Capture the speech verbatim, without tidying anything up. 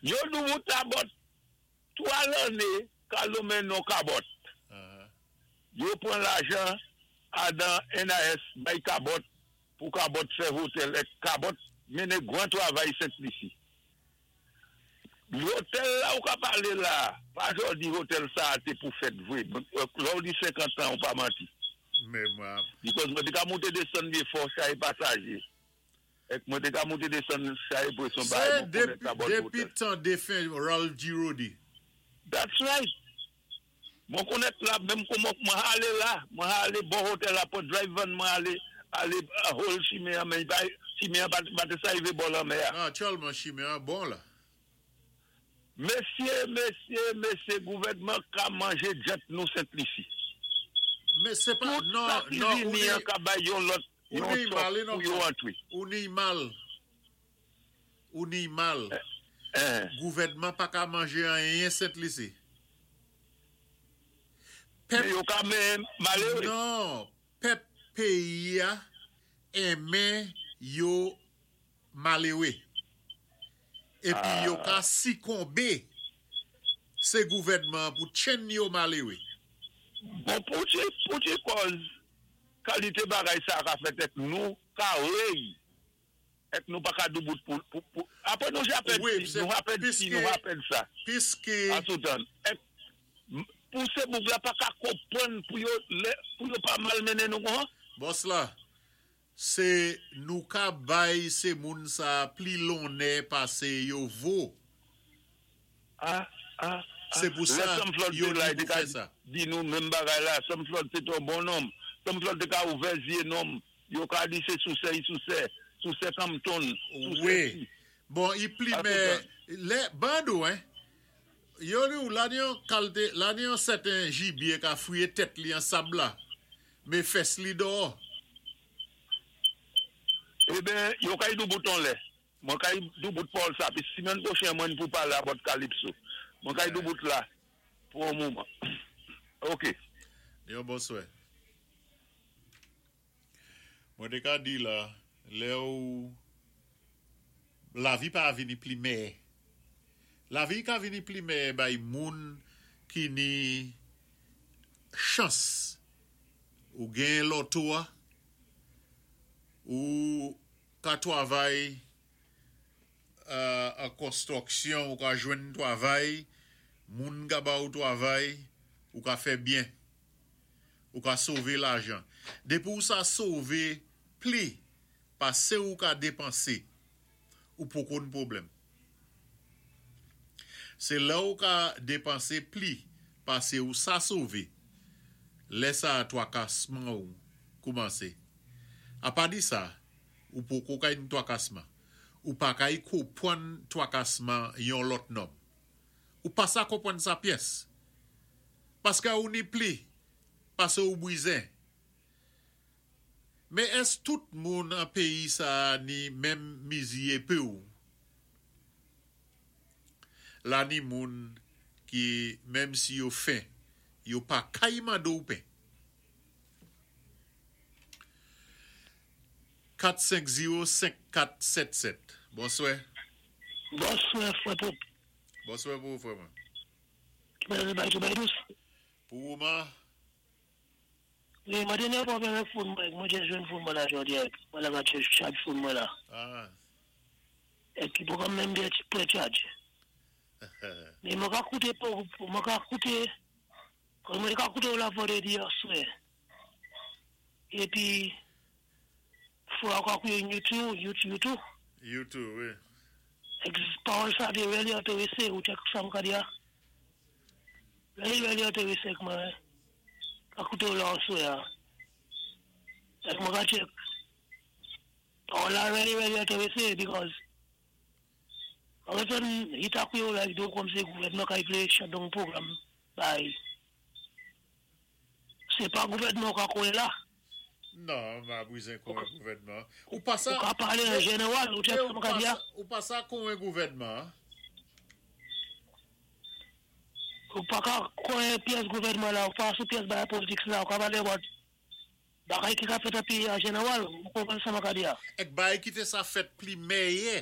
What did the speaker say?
Yo doubout about twa lanné ka lonmen non Cabot. Uh-huh. Yo pwan lajan adan N A S bay Cabot pou Cabot fè hotel é Cabot mennen gwan twavay Sent Lisi. Lotèl la ou ka palé la, pa jòdi hotel sa té pou fèt vwé. La ou di senkant an ou pa manti. Mé mwen, Because mwen té ka monté désann byen fò chaye pasaje. Ek mwen té ka monté désann chaye pwéson sé bay mwen konnen dépi, Cabot dépi Hotel. Tan défen Ralph Girodi. That's right. Mwen konnen la, menm kouman mwen alé la, mwen alé bò hotel la pou drive van mwen alé, alé hol chimen an, men pa, chimen an pa, pa té sa rivé bò lanmè a. Non, aktyèlman, chimen an bon la. Mésyé, mésyé, mésyé, gouvèdman ka manjé djant nou Sent Lisi. Mé sé pa, Tout non, sa ki non, ou vini ni, an ka bay yon lòt, ou yon ni sòt mal, non, pou yo antwé. Ou ni mal. Ou ni mal. Eh, Gouvèdman pa ka manjé anyen Sent Lisi. Mé Pèp, yo ka men maléwé. Non, pèp péyi a enmen yo maléwé. Épi yo ka sikonbé sé gouvèdman pou tjenn yo maléwé. Bon, pou ti, pou ti kòz, kalité bagay sa ka fèt ek nou ka rey, ek nou pa ka doubout pou, pou, pou. Apwé nou japèd Wi, si, sé nou rapèd si, piské, nou rapèd sa. Piské, Asoutan, ek, m- pou sé boug la pa ka konpwann pou yo, lé, pou yo pa mal mennen nou kon? Bòs la, sé nou ka bay sé moun sa pli lonnè pasé yo vo. Ah, ah, ah. Sé pou Lè sa Sam Flood yo té la, ni té pou ka fè sa. Di nou menm bagay la, Sam Flood sé ton bon nonm. Sam Flood té ka ouvè zyé nonm. Yo ka di sé sousè, i sousè, sousè Compton, sousè Wi. Si. Bon, i pli mé, Asoutan. lè, bandou, hein, yo di ou la ni yon kalité, la ni yon sèten jibyé ka fouyé tèt li an sab la, mé fès li dèyò. Eh ben, yo kay doubout an lè. Mwen kay doubout Paul sa, pi simèn pwochen mwen pou palé about Calypso. Mwen kay doubout la, pou yon mouman. Ok. Yon bonswè. Mwen té ka di la, lè ou lavi pa vini pli mèyè. Lavi ka vini pli mèyè bay moun ki ni chans ou gen loto a, ou ka twavay euh, an konstwiksyon, ou ka jwenn twavay, moun ka ba ou twavay, ou ka fè byen, ou ka sové lajan. Dépi ou sa sové pli, pasé ou ka dépansé, ou poko ni pwoblèm. Sé la ou ka dépansé pli, pasé ou sa sové, lè sa twakasman ou koumansé. Apa di sa, ou poko kay ni twakasman. Ou pa kay konpwann twakasman yon lòt nonm. Ou pa sa konpwann sa pyès. Paské ou ni pli, pasé ou bwizen. Mé ès tout moun an péyi sa ni menm mizi pé ou? La ni moun ki menm si yo fen, yo pa kay mando ou pen. kat senk zewo senk kat sèt sèt. Bonswè. Bonswè, frè Pop. Bonswè pou ou, frè mwen. Ki mwen bay tou bay dous. Pou ou man, Wi, mwen té ni pwoblèm avèk phone mwen. Mwen jis jwenn phone mwen la jòdi. Mwen la ka charge phone mwen la. Ah, Épi pou menm byen pou charge. Mé mwen ka kouté pou mwen ka kouté kon mwen ka kouté ou la vandrédi aswè. Épi fò ka kouté YouTube, YouTube, YouTube. YouTube, wi. Ek pawòl sa té really entéwésé ou check sa m ka di a. Really, really entéwésé ak mwen. Ka kouté ou la aswè a. Ek mwen ka check. Pawòl la really, really entéwésé because an fèt, i ta koué ou la do kòm sé gouvèdman ka vlé shut down program bay. Sé pa gouvèdman ka koué la. Non, ma bwizen kon gouvèdman. Ou pa sa Ou ka palé an jénéwal, ou check Mais sa ou m ka pa di a. sa, ou pa sa kon gouvèdman. Ou pa ka koué pyès gouvèdman la, ou pa sou pyès bagay politik la, ou ka palé about bagay ki ka fèt an péyi an jénéwal, ou konpwann sa m ka di a. Ek bay ki té sa fèt pli mèyè.